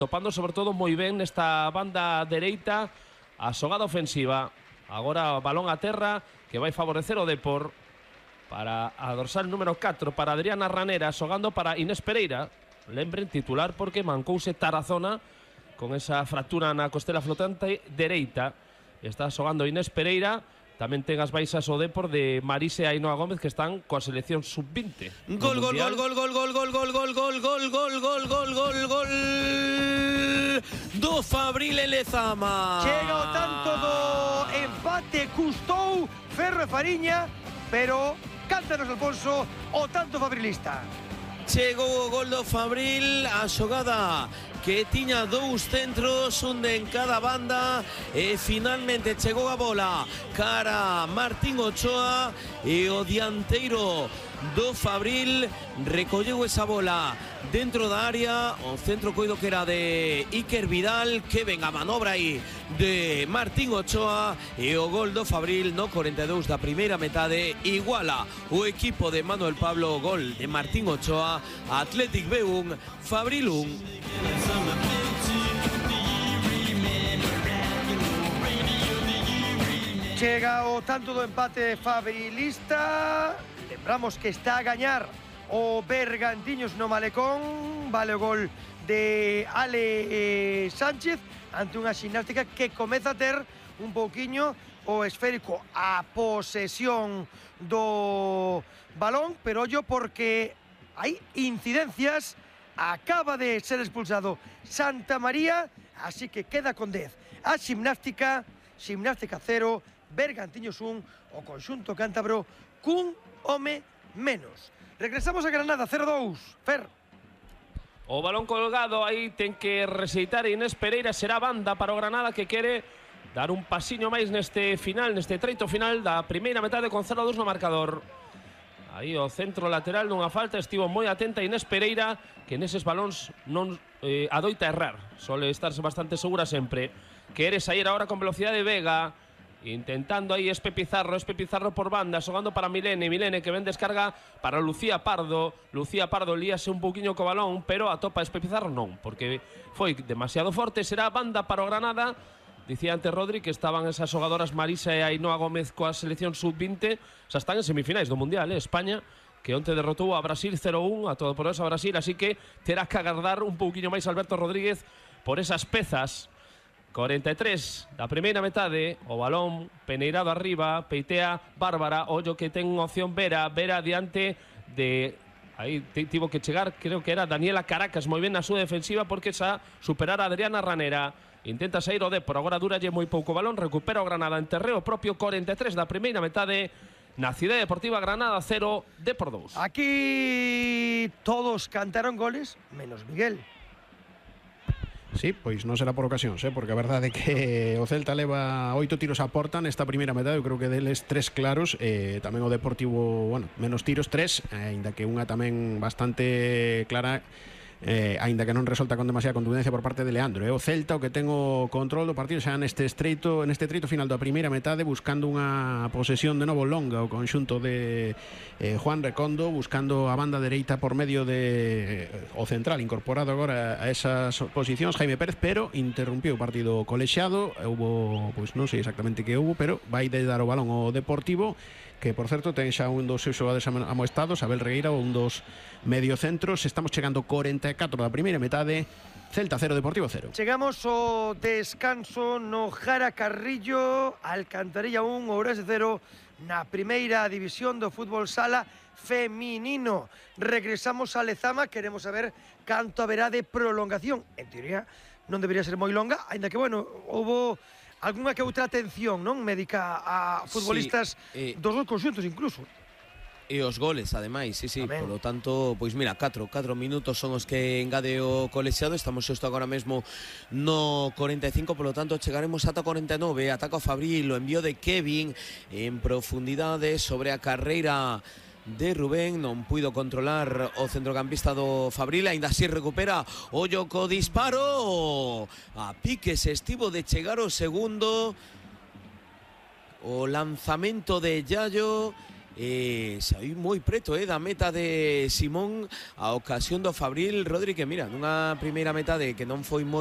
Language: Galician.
topando sobre todo moi ben nesta banda dereita a xogada ofensiva. Agora balón a terra que vai favorecer o Depor para a dorsal número 4 para Adriana Ranera, xogando para Inés Pereira. Lembren, titular porque mancouse Tarazona con esa fractura na costela flotante dereita. Está xogando Inés Pereira. Tamén ten as baixas o Depor de Marise e Ainhoa Gómez, que están coa selección sub-20. Gol do Fabril e Lezama. Chega o tanto do empate, custou Ferro e Fariña, pero cántanos, Alfonso, o tanto fabrilista. Chegou o gol do Fabril, a xogada que tiña dous centros, un de en cada banda, e finalmente chegou a bola cara Martín Ochoa e o dianteiro do Fabril recolleu esa bola dentro da área. O centro coido que era de Iker Vidal, que ven a manobra aí de Martín Ochoa, e o gol do Fabril no 42 da primeira metade iguala o equipo de Manuel Pablo. Gol de Martín Ochoa, Athletic B1, Fabril 1. Chega o tanto do empate fabrilista. Lembramos que está a gañar o Bergantiños no Malecón. Vale o gol de Ale Sánchez ante unha ximnástica que comeza a ter un pouquiño o esférico, a posesión do balón, pero ollo porque hai incidencias. Acaba de ser expulsado Santa María, así que queda con 10 a ximnástica 0, Bergantiños 1, o conxunto cántabro cun home menos. Regresamos a Granada, 0-2, Fer. O balón colgado, aí ten que rexeitar Inés Pereira, será banda para o Granada, que quere dar un pasiño máis neste final, neste treito final da primeira metade con 0-2 no marcador. Aí o centro lateral nunha falta, estivo moi atenta Inés Pereira, que neses balóns non adoita errar, sole estarse bastante segura sempre. Quere sair agora con velocidade Vega, intentando aí Espe Pizarro por banda, xogando para Milene que ven descarga para Lucía Pardo. Lucía Pardo líase un pouquiño co balón, pero atopa Espe Pizarro non, porque foi demasiado forte. Será banda para o Granada. Dicía antes Rodri que estaban esas xogadoras Marisa e Ainhoa Gómez coa selección sub-20, xa están en semifinais do Mundial, España, que onte derrotou a Brasil 0-1, a todopoderosa Brasil, así que terá que agardar un pouquiño máis Alberto Rodríguez por esas pezas. 43 da primeira metade, o balón peneirado arriba, peitea Bárbara, ollo que ten opción Vera diante de... Aí tivo que chegar, creo que era Daniela Caracas, moi ben na súa defensiva, porque xa superar a Adriana Ranera. Intenta sair o Depor, agora duralle moi pouco balón, recupera o Granada en terreo propio. 43 da primeira metade na Cidade Deportiva, Granada 0, Depor 2. Aquí todos cantaron goles, menos Miguel. Sí, pois non será por ocasións, porque a verdade é que o Celta leva 8 tiros a porta nesta primeira metade. Eu creo que deles 3 claros, tamén o Deportivo, bueno, menos tiros 3, aínda que unha tamén bastante clara, aínda que non resulta con demasiada contundencia por parte de Leandro. O Celta o que ten o control do partido xa neste treito final da primeira metade, buscando unha posesión de novo longa o conxunto de Juan Recondo, buscando a banda dereita por medio de o central incorporado agora a esas posicións, Jaime Pérez, pero interrumpiu o partido colexiado. Houbo, pois non sei exactamente que houbo, pero vai de dar o balón ao Deportivo, que por certo ten xa un dos seus xogadores amoestados, Abel Regueira, un dos mediocentros. Estamos chegando 44 da primeira metade, Celta 0, Deportivo 0. Chegamos ao descanso no Jara Carrillo, Alcantarilla 1, Ourense 0, na primeira división do fútbol sala feminino. Regresamos a Lezama, queremos saber canto haberá de prolongación. En teoría non debería ser moi longa, aínda que, bueno, houbo algunha que outra atención, non, médica a futbolistas dos dos conxuntos incluso. E os goles, ademais, sí, por lo tanto, pois mira, 4 minutos son os que engade o colexiado. Estamos xusto agora mesmo no 45, por lo tanto chegaremos ata 49. Ataca o Fabril, o envío de Kevin en profundidade sobre a carreira de Rubén, non puido controlar o centrocampista do Fabril, aínda así recupera o Yoko disparo a piques, estivo de chegar o segundo, o lanzamento de Yayo Saí moi preto da meta de Simón a ocasión do Fabril. Rodri, que mira, nunha primeira metade que non foi moi